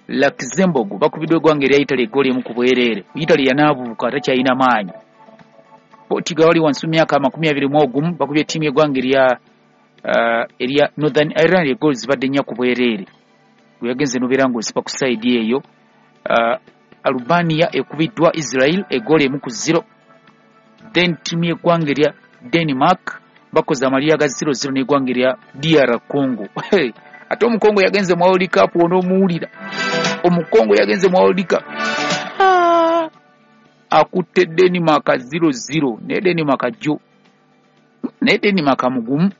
Luxembourg bakubiddwa eggwanga erya Italy eggoolo 1 ku bwereere. Italy yanaabuuka, takyalina maanyi. Portugal wali wansi mu myaka 21 bakubye ttiimu y'eggwanga erya Northern Ireland, eggoolo zibadde 4 ku bwereere. Gwe yagenze nobeera ng'osiba ku side eyo. Albania ekubiddwa Israel eggoolo 1-0. Then ttiimu y'eggwanga erya Denmark bakoze amalira ga 0-0 n'eggwanga erya DR Congo. Ate Omukongo yagenze mu World Cup, onoomuwulira, Omukongo yagenze mu World Cup akutte Denmark 0-0, naye Denmark jjo, naye Denmark mugumu.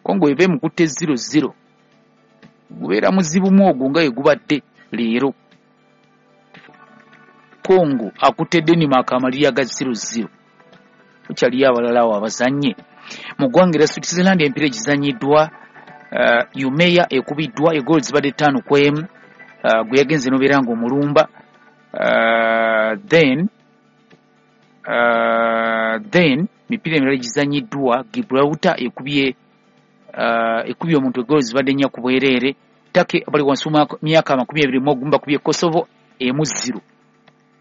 Congo eba emukutte 0-0, gubeera muzibu ogwo nga gubadde leero. Congo akutte Denmark amalira ga 0-0. Kukyaliyo abalala awo abazannye. Mu ggwanga erya Switzerland empiira egizannyiddwa, Umeya ekubiddwa egoolo zibadde 5-1, gwe yagenze nobeera ng'omulumba. Then mipiira emirala egizannyiddwa, Gibraltar ekubye omuntu egoolo zibadde 4 ku bwereere. Turkey bali wansi mu myaka 21 bakubye Kosovo 1-0,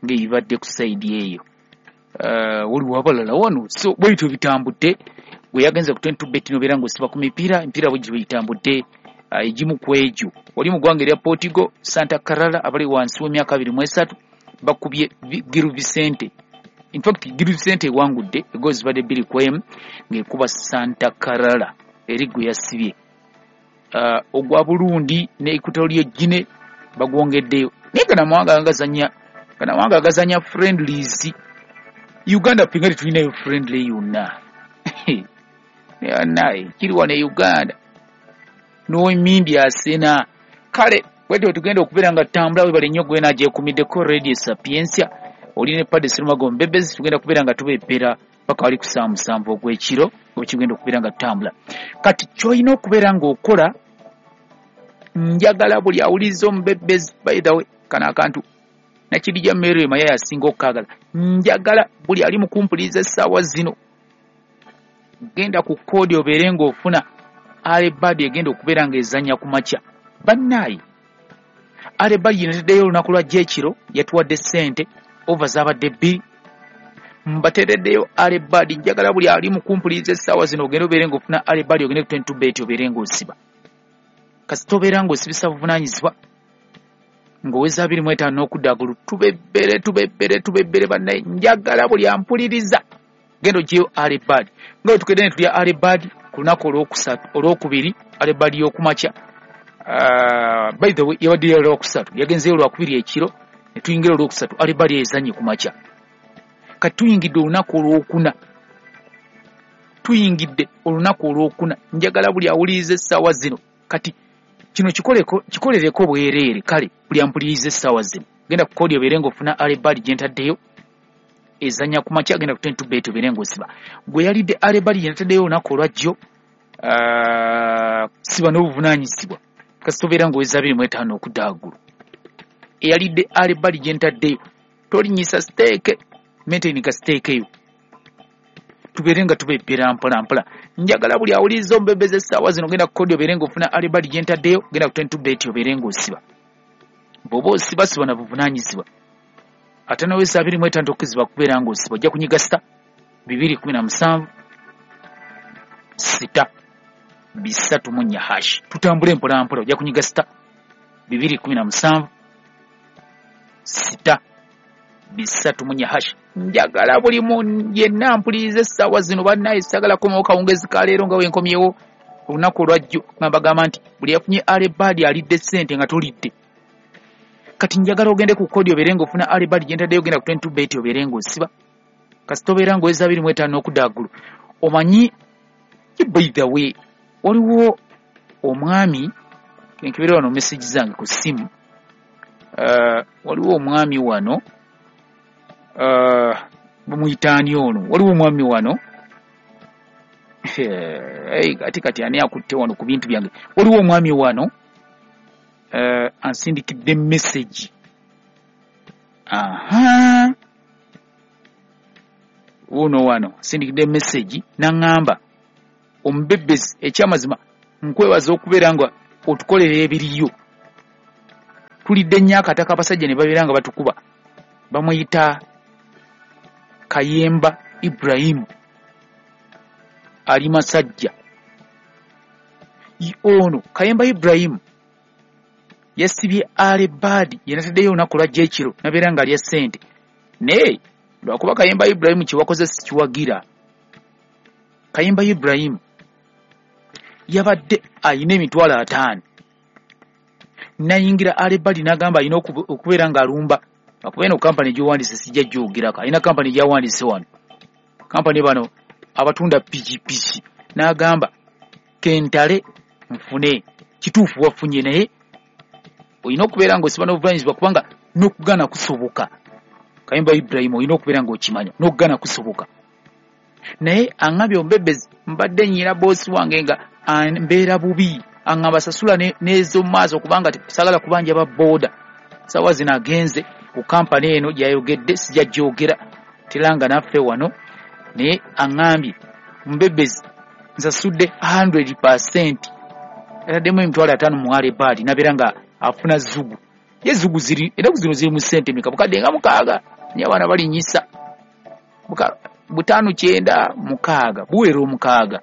ng'ebibadde ku side eyo. Waliwo abalala wano, so bwebityo bitambudde. Gwe yagenze ku 22 bet nobeera ng'osiba ku mipiira, emipiira bwe gityo bitambudde. Egimu ku egyo, oli mu ggwanga erya Portugal, Santa Clara abali wansi w'emyaka 23 bakubye Gil Vicente. In fact, Gil Vicente ewangudde egoolo zibadde 2-1 ng'ekuba Santa Clara eri gwe yasibye. Ogwa Burundi ne Equatorial Guinea bagwongeddeyo, naye gano amawanga agazanya, gano amawanga agazanya friendlies. Uganda ffe nga tetulinayo friendly yonna. Naye kiri wano e Uganda n'emindi asena. Kale bwetyo tugenda okubeera nga tutambula. Webale nnyo gwe naagyekumiddeko Radio Sapientia, oli ne Padde Serumago Mbebezi. Tugenda kubeera nga tubebbera paka wali ku ssaawa 7 ogw'ekiro, bwe kigenda okubeera nga tutambula. Kati ky'olina okubeera ng'okola, njagala buli awuliriza omubebezi, by the way, kano akantu Nakirija Mary Maya yasinga okukaagala. Njagala buli ali mu kumpuliriza essaawa zino, genda ku code obeere ng'ofuna early bird egenda okubeera ng'ezannya ku makya. Bannaaye, early bird yeneteddeyo olunaku lwajja ekiro, yatuwadde ssente over zaabadde 2. Mbateereddeyo early bird. Njagala buli ali mu kumpuliriza essaawa zino ogende obeere ng'ofuna early bird, ogende ku 22 bet obeere ng'osiba. Kasita obeera ng'osibisa buvunaanyizibwa ng'oweza 25 n'okudda agulu, tubebbere, tubebbere, tubebbere. Bannaye, njagala buli ampuliriza genda ogyeyo early bird, nga bwe tukedde ne tulya early bird ku lunaku olwokusatu, olwokubiri, early bird y'okumakya. By the way, yabadde ya lwakusatu, yagenzeyo lwakubiri ekiro ne tuyingira olwokusatu, early bird ezannye ku makya. Kati tuyingidde olunaku olwokuna, tuyingidde olunaku olwokuna. Njagala buli awuliriza essaawa zino, kati kino kikoleko, kikolereko bwereere. Kale buli ampuliriza essaawa zino, genda ku code obeere ng'ofuna early bird gye ntaddeyo ezannya ku makya. Genda ku 22 bet obeere ng'osiba. Gwe yalidde early bird gye ntaddeyo olunaku olwajjo, siba n'obuvunaanyizibwa kasita obeera ng'oweza 25 okudda waggulu. Eyalidde early bird gye ntaddeyo, tolinyisa stake, maintain ka stake eyo, tubeere nga tubebbera mpola mpola. Njagala buli awuliriza omubebeza essaawa zino, genda ku code obeere ng'ofuna early bird gye ntaddeyo. Genda ku 22 bet obeere ng'osiba. Bw'oba osiba, siba na buvunaanyizibwa. Ate noweza 25 tokkizibwa kubeera ng'osiba. Ojja kunyiga *217 *334#. Tutambule mpola mpola. Ojja kunyiga *217 *334#. Njagala buli mu yenna mpuliriza essaawa zino, bannaye, sagala komawo kawungezi ka leero nga wenkomyewo olunaku olwajjo nga mbagamba nti buli yafunye early bird alidde ssente nga tolidde. Kati njagala ogende ku code obeere ng'ofuna early bird gye ntaddeyo. Genda ku 22 bet obeere ng'osiba. Kasita obeera ng'oweza 25 n'okudda waggulu. Omanyi, by the way, waliwo omwami kenkebera wano message zange ku ssimu. Waliwo omwami wano, bamuyitaani ono? Waliwo omwami wano. Hey, kati ani akutte wano ku bintu byange? Waliwo omwami wano ansindikidde message. Aha, wuno wano ansindikidde message naŋŋamba, "Omubebezi, ekyamazima nkwebaza okubeera nga otukolera ebiriyo." Tulidde nnyo akataka abasajja ne babeera nga batukuba. Bamuyita Kayemba Ibrahimu, ali Masajja. Ono Kayemba Ibrahimu yasibye alebaadi yenataddeyo olunaku lwajja ekiro nabeera nga alya ssente. Naye lwakuba Kayemba Ibrahimu kyewakoze sikiwagira. Kayemba Ibrahimu yabadde ayina 50,000 nayingira alebaadi n'agamba alina okubeera ng'alumba. Akuba eno kampani gy'owandiise sijja gyogerako, alina kampani gy'awandiise wano, kampani bano abatunda pikipiki, n'agamba kentale nfune. Kituufu wafunye, naye olina okubeera ng'osiba n'obuvunanyizibwa kubanga n'okugaana kusoboka. Kayemba Ibrahimu olina okubeera ng'okimanya n'okugaana kusoboka. Naye aŋŋambye omubebezi mbadde nnyina boosi wange nga mbeera bubi, aŋŋamba sasula n'ez'omu maaso kubanga saagala kubanja ba booda. Ssaawa zino agenze ku kampani eno gy'ayogedde sijja gyogera teranga naffe wano, naye aŋŋambye mbebezi nsasudde 100%, ataddemu 50,000 mu alebaadi nabeera nga afuna zugu. Ye zugu ziri ennaku zino ziri mu ssente meka? Bukadde nga 6, naye abaana balinnyisa 596 buwera 6.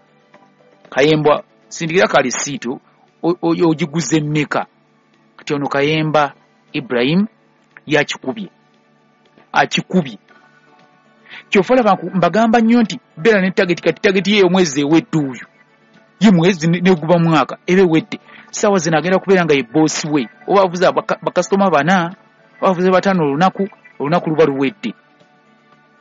Kayemba sindikira ka lisiiti ogiguze mmeka? Kati ono Kayemba Ibrahim yakikubye, akikubye. Kyova olaba mbagamba nnyo nti beera ne tageti. Kati tageti ye omwezi ewedde, oyo ye mwezi neguba mwaka eba ewedde. Ssaawa zino agenda kubeera nga ye boosi we, oba avuze bakasitoma 4 oba avuze 5 olunaku, olunaku luba luwedde,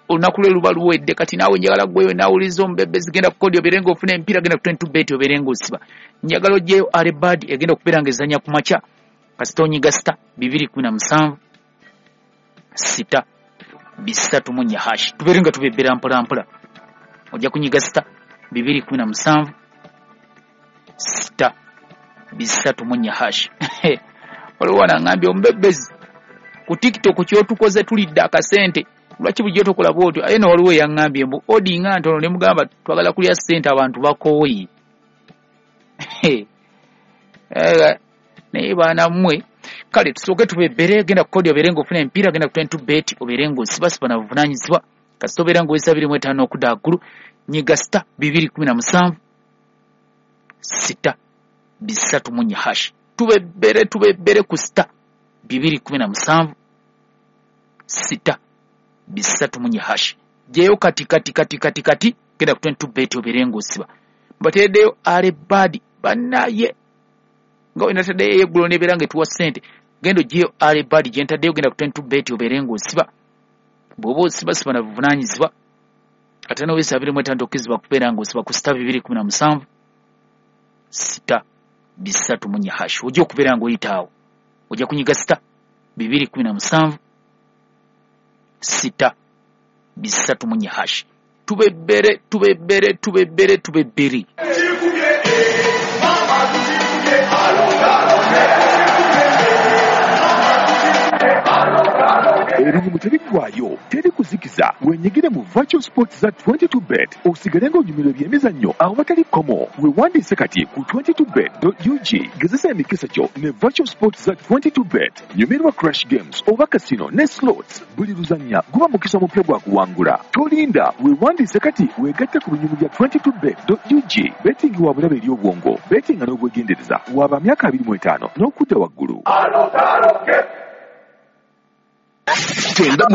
olunaku lwe luba luwedde. Kati naawe njagala gweyo naawuliza omubebezi, genda ku kodi obeere ng'ofuna empiira, genda ku 22 bet obeere ng'osiba. Njagala oggyeyo alebaadi egenda okubeera ng'ezannya ku makya, kasita onyiga sita 217 6 3 hash, tubeere nga tubebbera mpola mpola. Ojja kunyiga sita 217 6 3 hash. Waliwo wano aŋŋambye omubebezi ku TikTok kyotukoze tulidde akasente, lwaki bulijjo tokola bw'otyo? Aye no waliwo eyaŋŋambye mbu odi nga ntono, ne mugamba twagala kulya ssente abantu bakooye. Naye baana mmwe, kale tusooke tubebbere. Genda ku kodi obeere ng'ofuna empiira, genda ku 22 bet obeere ng'osibasiba na buvunaanyizibwa. Kasita obeera ng'oweza 25 okudda waggulu, nyiga sita 217 6 3 hash. Tubebbere, tubebbere ku sita 217 6 3 hash. Gyeyo kati kati kati kati kati, genda ku 22 bet obeere ng'osiba. Mbateereddeyo alebaadi bannaye nga wenataddeyo ey'eggulo n'ebeera ng'etuwa ssente. Genda oggyeyo alebaadi gye ntaddeyo, genda ku 22 bet obeere ng'osiba. Bw'oba osibasiba na buvunaanyizibwa, ate n'oweza 25 tokkirizibwa kubeera ng'osiba ku sita 217 6 3 hash. Ojja okubeera ng'oyita awo, ojja kunyiga sita 217 6 3 hash. Tubebbere, tubebbere, tubebbere, tubebbere. Ebizibu tebiggwaayo, teri kuzikiza. Wenyigire mu virtual sports za 22 bet osigale ng'onyumirwa ebyemizannyo awatali kkomo. Weewandiise kati ku 22bet.ug, gezesa emikisa gyo ne virtual sports za 22 bet. Nyumirwa crash games oba casino ne slots. Buli luzannya guba mukisa mupya gwa kuwangula. Tolinda, weewandiise kati weegatte ku binyumu bya 22bet.ug. Betting wa bulabe eri obwongo, bettinga n'obwegendereza. Waba myaka 25 n'okudda waggulu. Tenda mu